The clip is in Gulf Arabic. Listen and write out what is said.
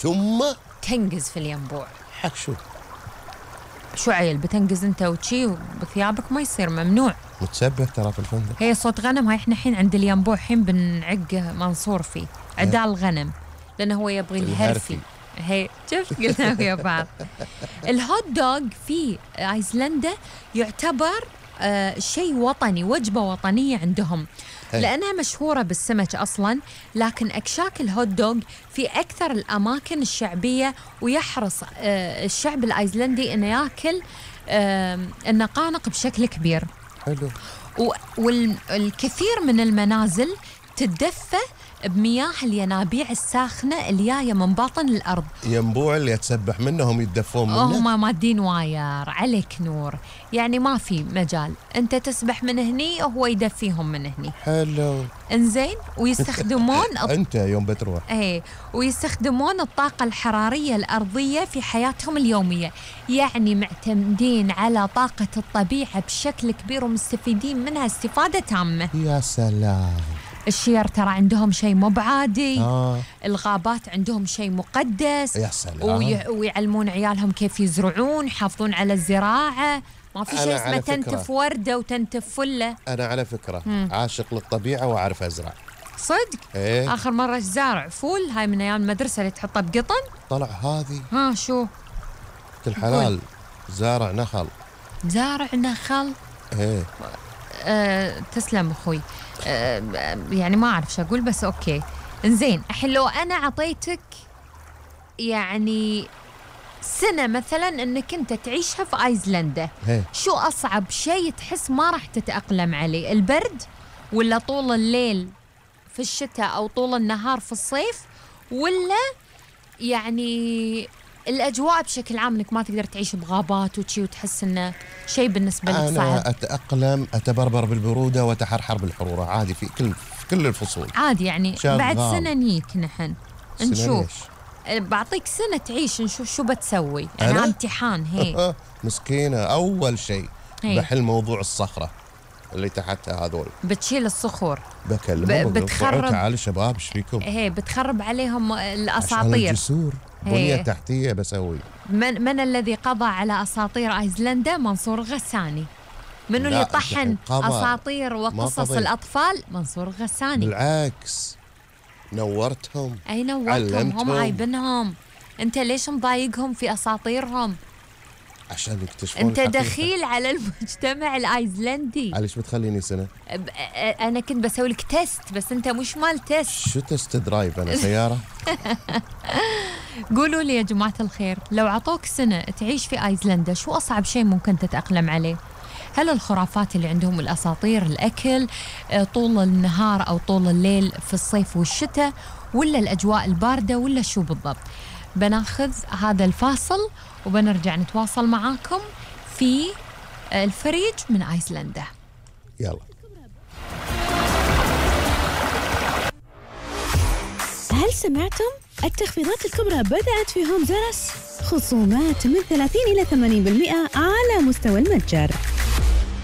ثم تنقز في الينبوع. حق شو عيل بتنقز انت وشي بثيابك؟ ما يصير، ممنوع. متسبح ترى في الفندق. هي صوت غنم. هاي احنا الحين عند الينبوع الحين بنعق منصور فيه عدال الغنم لانه هو يبغي الهرفي. هي شفت قلنا ويا بعض. الهوت دوغ في ايسلندا يعتبر شيء وطني، وجبة وطنية عندهم لأنها مشهورة بالسمك أصلاً، لكن أكشاك الهوت دوغ في أكثر الأماكن الشعبية، ويحرص الشعب الأيسلندي أنه يأكل النقانق بشكل كبير. حلو. والكثير من المنازل تتدفى بمياه الينابيع الساخنة اللي جاية من باطن الأرض. ينبوع اللي يتسبح منهم يتدفون منه؟ هم مادين واير عليك نور، يعني ما في مجال، أنت تسبح من هني وهو يدفيهم من هني. حلو. إنزين. ويستخدمون أنت يوم بتروح ويستخدمون الطاقة الحرارية الأرضية في حياتهم اليومية، يعني معتمدين على طاقة الطبيعة بشكل كبير ومستفيدين منها استفادة تامة. يا سلام. الشير ترى عندهم شيء مو بعادي. الغابات عندهم شيء مقدس. يا سلام. ويعلمون عيالهم كيف يزرعون، يحافظون على الزراعة. ما في شيء اسمه تنتف وردة وتنتف فلة. أنا على فكرة عاشق للطبيعة وأعرف أزرع صدق. آخر مرة زارع فول هاي من أيام المدرسة اللي تحطها بقطن. طلع هذه شو الحلال. زارع نخل. تسلم أخوي. يعني ما أعرف شو أقول بس أوكي. إنزين الحين لو أنا عطيتك يعني سنة مثلا أنك أنت تعيشها في أيسلندا، شو أصعب شيء تحس ما راح تتأقلم عليه؟ البرد ولا طول الليل في الشتاء أو طول النهار في الصيف، ولا يعني الأجواء بشكل عام أنك ما تقدر تعيش بغابات وشي وتحس أنه شيء بالنسبة لك صعب؟ أنا أتأقلم، أتبربر بالبرودة وأتحرحر بالحرورة عادي في كل الفصول عادي. يعني بعد سنة نيك نحن نشوف. بعطيك سنة تعيش نشوف شو بتسوي. أنا امتحان. هي مسكينة. أول شيء بحل موضوع الصخرة اللي تحتها هذول. بتشيل الصخور. بكلمهم بتخرب. تعالوا شباب ايش فيكم؟ بتخرب عليهم الأساطير. الجسور بنية تحتية بسوي. من الذي قضى على أساطير أيسلندا؟ منصور غساني. منو اللي طحن أساطير وقصص الأطفال؟ منصور غساني. بالعكس نورتهم. أي نورتهم. هم عايبنهم. أنت ليش مضايقهم في أساطيرهم؟ عشان يكتشفون. أنت دخيل على المجتمع الأيسلندي. ليش بتخليني سنة؟ أنا كنت بسوي لك تيست بس أنت مش مال تيست. شو تيست درايف؟ أنا سيارة. قولوا لي يا جماعة الخير، لو عطوك سنة تعيش في أيسلندا شو أصعب شيء ممكن تتأقلم عليه؟ هل الخرافات اللي عندهم، الأساطير، الأكل طول النهار أو طول الليل في الصيف والشتاء، ولا الأجواء الباردة، ولا شو بالضبط؟ بناخذ هذا الفاصل وبنرجع نتواصل معاكم في الفريج من أيسلندا. يلا. هل سمعتم؟ التخفيضات الكبرى بدأت في هوم زرس، خصومات من 30 إلى 80% على مستوى المتجر.